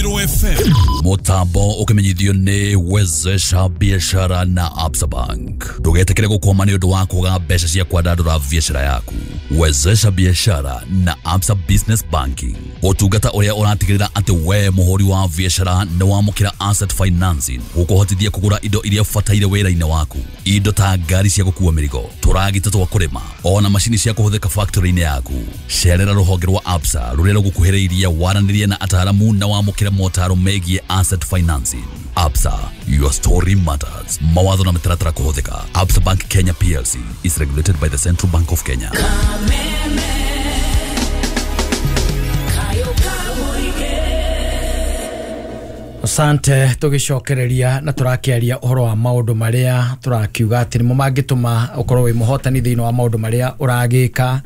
Irathĩro FM. Mutambo ukimenyithio ni Wezesha Biashara na Absa Bank. Ndugetikire gukwama ni undu wa kwaga mbeca cia kwandandura biashara yaku. Wezesha Biashara na Absa Business Banking, utungata uria uratigirira ati we muhuri wa biashara ni wamukira asset financing gukuhotithia kugura indo iria ubataire wira-ini waku, indo ta ngari cia gukua mirigo, turagita twa kurima, ona macini cia kuhuthika factory-ini yaku. Cerera ruhonge rwa Absa ruria rugukuhiriirie waranirie na ataramu na wamukire motaro megie asset financing. Absa, your story matters. Mawatho na mitaratara kuhuthika. Absa Bank Kenya PLC is regulated by the Central Bank of Kenya. Asante. Tugicokereria na turakiaria uhoro wa maundu maria turakiuga ati nimo mangituma ukorwo wi muhotani thiini wa maundu maria uragika,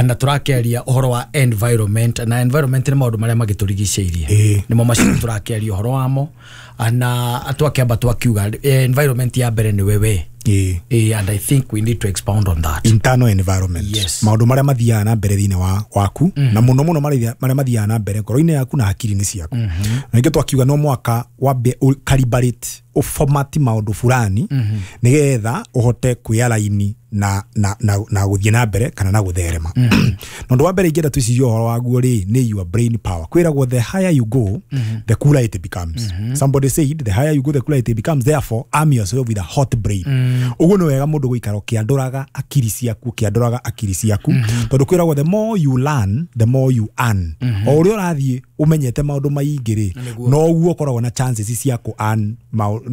na turakiaria uhoro wa environment, na environment ni maundu maria magiturigiceirie, nimo macio turakiaria uhoro wamo, na twakiamba twakiuga environment ya mbere ni wewe. And I think we need to expound on that. Internal environment. Yes. Maundu maria mathiaga na mbere thiini wa waku, na muno muno maria mathiaga na mbere ngoro-inĩ yaku na hakiri-inĩ ciaku. Na nĩkĩo twakiuga no mwaka wambe calibrate uformat maundu fulani nigetha uhote kwĩaraini na na na na guthie na mbere kana na gutherema. Na undu wa mbere ingĩenda twicirie ũhoro waguo rĩ nĩ your brain power. Kwĩragwo the higher you go, the cooler it becomes. Somebody said the higher you go, the cooler it becomes, therefore arm yourself with a hot brain. Ũguo nĩ wega mũndũ gũikara ũkĩandũraga akiri ciaku, ũkĩandũraga akiri ciaku, tondũ kwĩragwo the more you learn, the more you earn. O ũrĩa ũrathiĩ ũmenyete maũndũ maingĩ rĩ, noguo ũkoragwo na chances cia kũ earn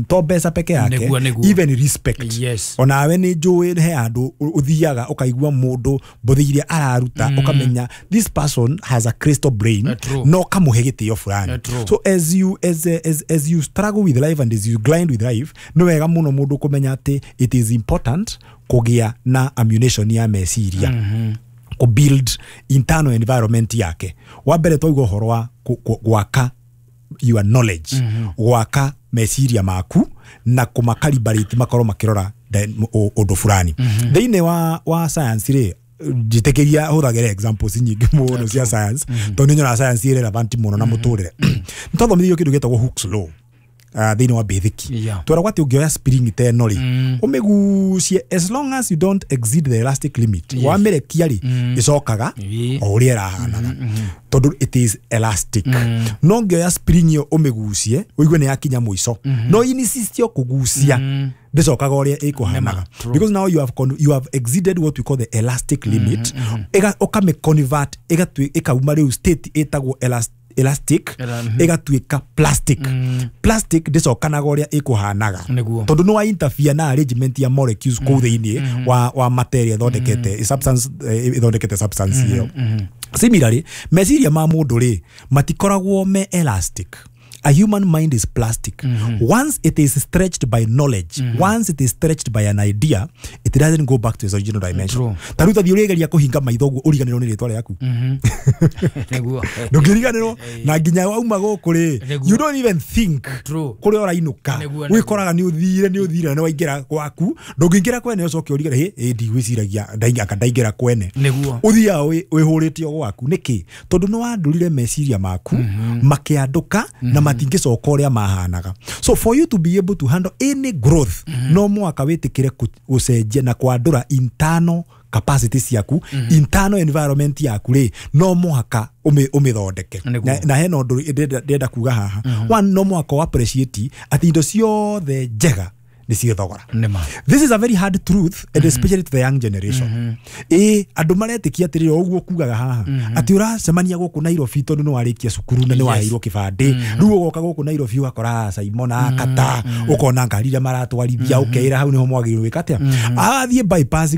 to mbeca peke yake, even respect. Yes. Onawe nĩ njũĩ he andũ ũthiaga ũkaigua mũndũ mbothi iria araruta, ũkamenya this person has a crystal brain, no kamũhe gĩtĩo fulani. So as you as, as, as you struggle with life and as you grind with life, nĩ wega mũno mũndũ kũmenya atĩ it is important kũgĩa na ammunition ya meciria, kũ build internal environment yake. Wa mbere twauga ũhoro wa gwaka your knowledge, gwaka meciria maku na kumakalibrate makorwo makirora undu fulani. Thiini wa science ri, njitikiria huthagira examples nyingi muno cia science, tondu nyona science iri relevant muno na muturire. Nitwathomithio kindu gitagwo Hooke's law thiini wa basic. Tweragwo ati ungioya spring ta ĩno rĩ, ũmĩgucie as long as you don't exceed the elastic limit, wamĩrekia rĩ, ĩcokaga o ũrĩa ĩrahanaga, tondũ it is elastic. No ũngĩoya spring ĩyo ũmĩgucie ũigue nĩ yakinya mũico, no insist kũgucia, ndĩcokaga ũrĩa ĩkũhanaga, because now you have exceeded what we call the elastic limit. Ũkamĩ convert ĩkauma rĩu state ĩtagwo elastic ĩgatuĩka plastic. Plastic ndĩcokanaga ũrĩa ĩkũhanaga, tondũ nĩ wa interfere na arrangement ya molecules kũu thĩinĩ wa materia ĩthondekete substance, ĩthondekete substance ĩyo. Similarly, meciria ma mũndũ rĩ matikoragwo me elastic. A human mind is plastic. Once it is stretched by knowledge, once it is stretched by an idea, it doesn't go back to its original dimension. Ta rĩu tathiĩ ũrĩgeria kũhinga maitho ũguo ũriganĩrwo nĩ rĩtwa rĩaku. Ndũngĩriganĩrwo, na nginya wauma gũkũ rĩ, you don't even think kũrĩa ũrainũka. Wĩkoraga nĩ ũthire, nĩ ũthire na nĩ waingĩra gwaku. Ndũngĩingĩra kwene ũcoke ũrigane, hĩ, ndigwĩciragia anga ndaingĩra kwene. Ũthiaga wĩhũrĩte o gwaku. Nĩkĩ? Tondũ nĩ wandũrire meciria maku makĩandũka na matingĩcoka ũrĩa mahanaga. So for you to be able to handle any growth, no mwaka wĩtĩkĩre gũcenjia na kwandũra internal capacity ciaku, internal environment yaku rĩ, no mũhaka ũmĩthondeke. Na hena ũndũ ndĩrenda kuga haha. One, no mũhaka ũ appreciate atĩ indo ciothe njega nĩ cirĩ thogora. This is a very hard truth, and especially to the young generation. Andũ maretĩkia atĩrĩrĩ, o ũguo kugaga haha, atĩ ũracemania gũkũ Nairobi tondũ nĩ warĩkia cukuru na nĩ waheirwo kĩbandĩ, rĩu ũgoka gũkũ Nairobi ũgakora Simon akata, ũkona ngari iria maratwarithia, ũkeĩra hau nĩho mwagĩrĩirwo gwĩka atĩa. Athiĩ bypass.